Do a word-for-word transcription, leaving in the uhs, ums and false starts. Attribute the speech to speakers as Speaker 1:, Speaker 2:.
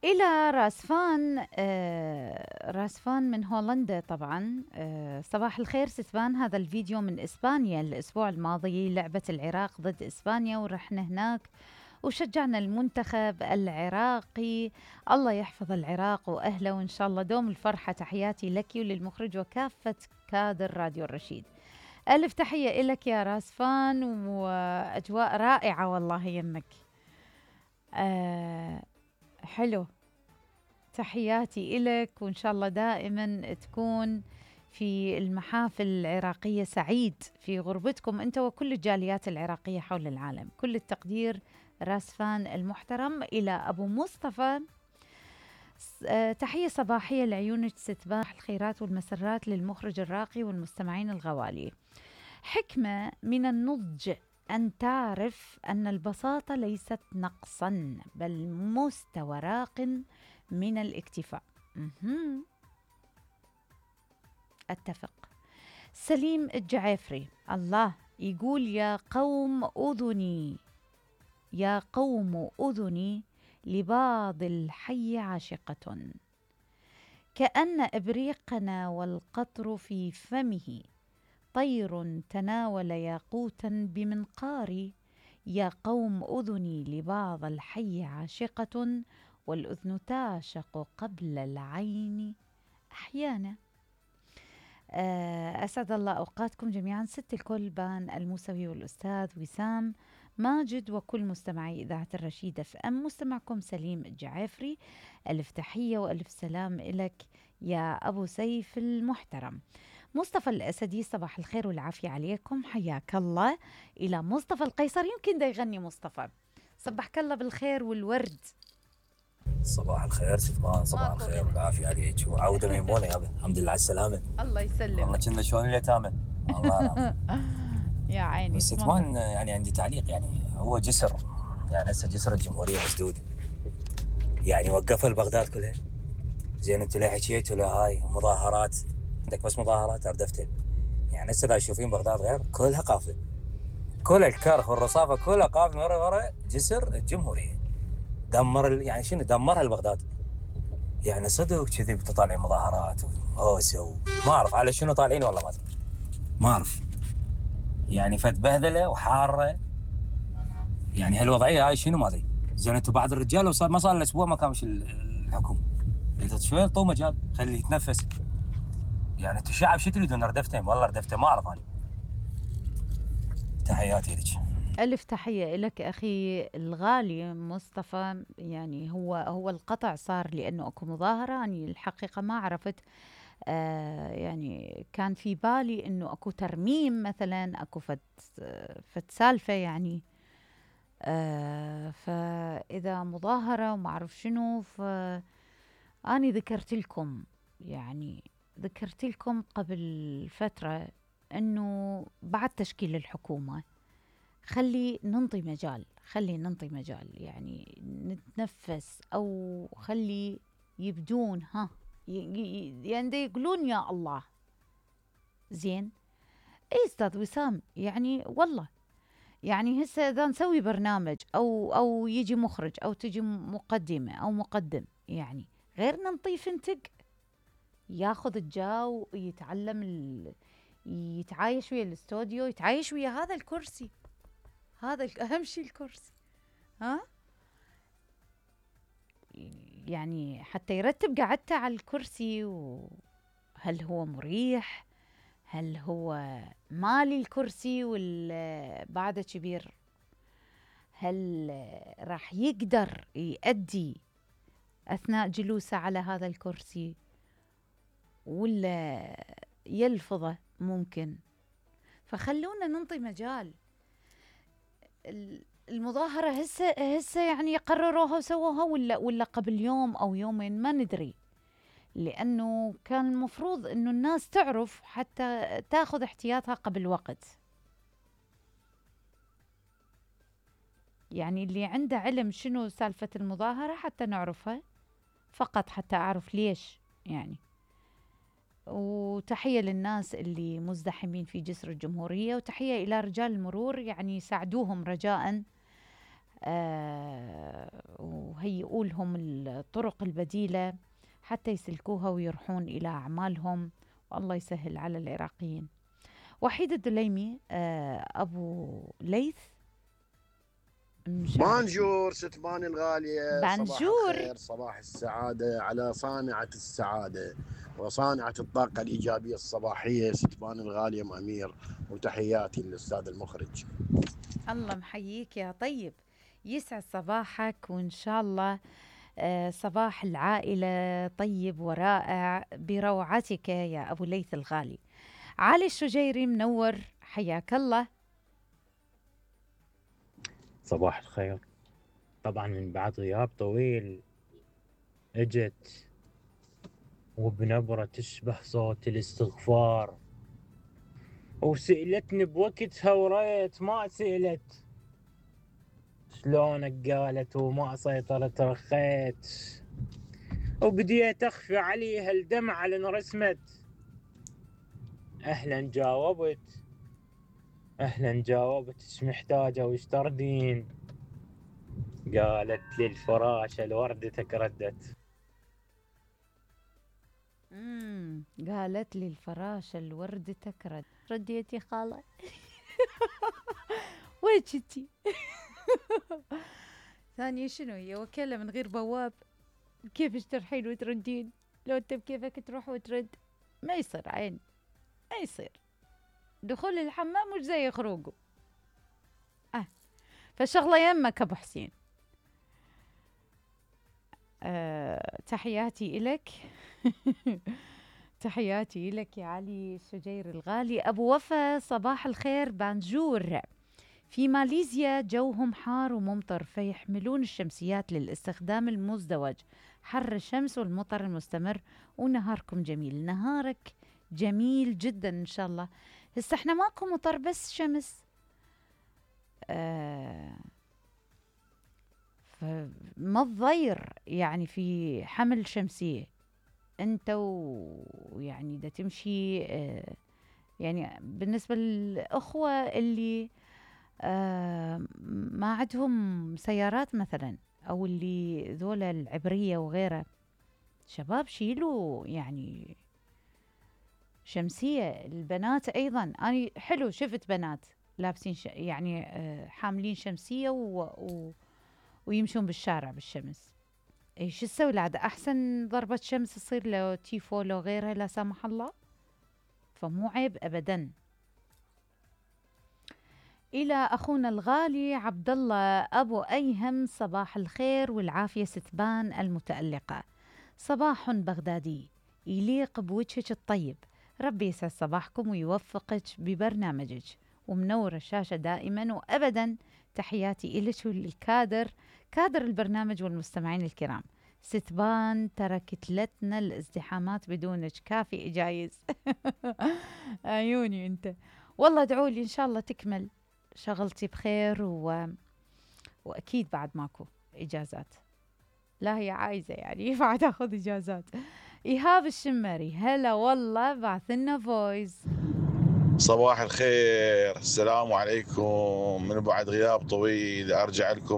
Speaker 1: إلى راسفان. آه راسفان من هولندا طبعا. آه صباح الخير ستفان، هذا الفيديو من إسبانيا الأسبوع الماضي، لعبة العراق ضد إسبانيا ورحنا هناك وشجعنا المنتخب العراقي. الله يحفظ العراق وأهله وإن شاء الله دوم الفرحة. تحياتي لك وللمخرج وكافة كادر راديو الرشيد. ألف تحية إلك يا راسفان، وأجواء رائعة والله يمك. آه حلو، تحياتي إلك وإن شاء الله دائما تكون في المحافل العراقية سعيد في غربتكم أنت وكل الجاليات العراقية حول العالم. كل التقدير راسفان المحترم. إلى أبو مصطفى، أه تحية صباحية لعيونك ستباح الخيرات والمسرات للمخرج الراقي والمستمعين الغوالي. حكمة من النضج أن تعرف أن البساطة ليست نقصا بل مستوى راق من الاكتفاء. مهم. أتفق. سليم الجعافري الله يقول يا قوم أذني يا قوم أذني لبعض الحي عاشقة، كأن إبريقنا والقطر في فمه، طير تناول ياقوتا بمنقاري. يا قوم أذني لبعض الحي عاشقة، والأذن تعشق قبل العين أحيانا. أسعد الله أوقاتكم جميعا. ست الكل بان الموسوي والأستاذ وسام ماجد وكل مستمعي إذاعة الرشيد اف ام. مستمعكم سليم الجعافري، ألف تحية وألف سلام إلك يا أبو سيف المحترم. مصطفى الأسدي صباح الخير والعافية عليكم، حياك الله. إلى مصطفى القيصر، يمكن دا يغني مصطفى. صبحك الله بالخير والورد.
Speaker 2: صباح الخير ستفان، صباح الخير والعافية عليك وعودة ميمونة يا ابن. الحمد لله على السلامة.
Speaker 1: الله يسلمك.
Speaker 2: والله كنا شلون اليتامى. الله
Speaker 1: يا عيني.
Speaker 2: بس ستفان يعني عندي تعليق، يعني هو جسر، يعني هسه جسر الجمهورية مسدود، يعني وقفوا البغداد كلها. زين انتوا ليه حكيتوا له هاي مظاهرات؟ عندك بس مظاهرات اردفتها. يعني هسه اذا تشوفين بغداد غير كلها قافله، كل الكرخ والرصافه كلها قافله ورا ورا جسر الجمهوريه. دمر يعني شنو دمرها البغداد. يعني صدق كذي بتطالعين مظاهرات وهوسه ما اعرف على شنو طالعين، والله ما ادري ما اعرف. يعني فد بهذله وحاره، يعني هالوضعيه هاي شنو ما ادري. زين انتم بعض الرجال وصار ما صار له اسبوع ما كامش الحكومه، انت شوي طو مجال خليه يتنفس. يعني انتم الشعب شو تريدون؟ ردفتين والله ردفتين ما اعرف انا. تحياتي لك.
Speaker 1: ألف تحية لك أخي الغالي مصطفى. يعني هو هو القطع صار لأنه أكو مظاهرة، أنا الحقيقة ما عرفت. آه يعني كان في بالي أنه أكو ترميم مثلا، أكو فت, فت سالفة يعني. آه فإذا مظاهرة وما أعرف شنو، فأني ذكرت لكم يعني ذكرت لكم قبل فترة أنه بعد تشكيل الحكومة خلي ننطي مجال خلي ننطي مجال يعني نتنفس، أو خلي يبدون ها يعني يقولون يا الله. زين اي استاذ وسام، يعني والله يعني هسه اذا نسوي برنامج او او يجي مخرج او تجي مقدمه او مقدم، يعني غير ننطي فنتق ياخذ الجو، يتعلم ال... يتعايش ويا الاستوديو، يتعايش ويا هذا الكرسي. هذا اهم شيء الكرسي، ها يعني حتى يرتب قعدته على الكرسي. وهل هو مريح؟ هل هو مالي الكرسي ولا بعده كبير؟ هل راح يقدر يؤدي أثناء جلوسه على هذا الكرسي ولا يلفظه ممكن؟ فخلونا ننطي مجال. المظاهرة هسه هسه يعني قرروها وسووها ولا ولا قبل يوم أو يومين ما ندري، لأنه كان المفروض إنه الناس تعرف حتى تاخذ احتياطها قبل وقت. يعني اللي عنده علم شنو سالفة المظاهرة حتى نعرفها، فقط حتى أعرف ليش يعني. وتحية للناس اللي مزدحمين في جسر الجمهورية، وتحية إلى رجال المرور يعني ساعدوهم رجاءً. آه وهيئوا لهم الطرق البديلة حتى يسلكوها ويروحون إلى أعمالهم، والله يسهل على العراقيين. وحيد الدليمي آه أبو ليث،
Speaker 3: بانجور ستبان الغالية،
Speaker 1: بانجور.
Speaker 3: صباح الخير، صباح السعادة على صانعة السعادة وصانعة الطاقة الإيجابية الصباحية ستبان الغالية أم أمير، وتحياتي للأستاذ المخرج.
Speaker 1: الله محييك يا طيب، يسعد صباحك، وإن شاء الله آه صباح العائلة طيب ورائع بروعتك يا أبو ليث الغالي. علي الشجيري منور، حياك الله.
Speaker 4: صباح الخير. طبعا من بعد غياب طويل اجت وبنبرة تشبه صوت الاستغفار، وسئلتني بوقتها وريت ما سئلت شلونك، قالت وما سيطرت رخيت، وبديت اخفي عليها الدمعة لان رسمت. اهلا جاوبت اهلا جاوبت ايش محتاجة وايش تردين؟ قالت لي الفراشة لوردتك ردت.
Speaker 1: امم قالت لي الفراشة لوردتك رد رديتي خالة. وين كنتي؟ ثانية شنو هي وكالة من غير بواب؟ كيفش ترحين وتردين؟ لو انت بكيفك تروح وترد ما يصير عين، ما يصير. دخول الحمام مش زي خروجه. اه فالشغلة يمك ابو حسين. أه تحياتي إلك. تحياتي لك يا علي الشجير الغالي. أبو وفا صباح الخير. بانجور في ماليزيا جوهم حار وممطر، فيحملون الشمسيات للاستخدام المزدوج، حر الشمس والمطر المستمر. ونهاركم جميل. نهارك جميل جدا إن شاء الله. هسه احنا ماكو مطر بس شمس. آه فما تضير يعني في حمل شمسية انت ويعني دا تمشي. آه يعني بالنسبة للأخوة اللي آه ما عندهم سيارات مثلا، أو اللي ذولا العبرية وغيرها، شباب شيلوا يعني شمسية. البنات أيضا أنا حلو شفت بنات لابسين ش... يعني آه حاملين شمسية و... و... ويمشون بالشارع بالشمس. ايش تسوي لعد احسن ضربة شمس تصير لو تيفو لو غيرها لا سمح الله، فمو عيب ابدا. الى اخونا الغالي عبد الله ابو ايهم، صباح الخير والعافية ستبان المتألقة. صباح بغدادي يليق بوجهك الطيب، ربي يسعد صباحكم ويوفقك ببرنامجك، ومنور الشاشة دائما وابدا. تحياتي إلك والكادر، كادر البرنامج والمستمعين الكرام. ستبان تركت لتنا الازدحامات بدونك، كافي إجايز. عيوني انت. والله ادعوا لي ان شاء الله تكمل شغلتي بخير، و... واكيد بعد ماكو اجازات. لا هي عايزة يعني بعد اخذ اجازات. ايهاب الشمري هلا والله، بعثلنا فويس.
Speaker 5: صباح الخير، السلام عليكم. من بعد غياب طويل ارجع لكم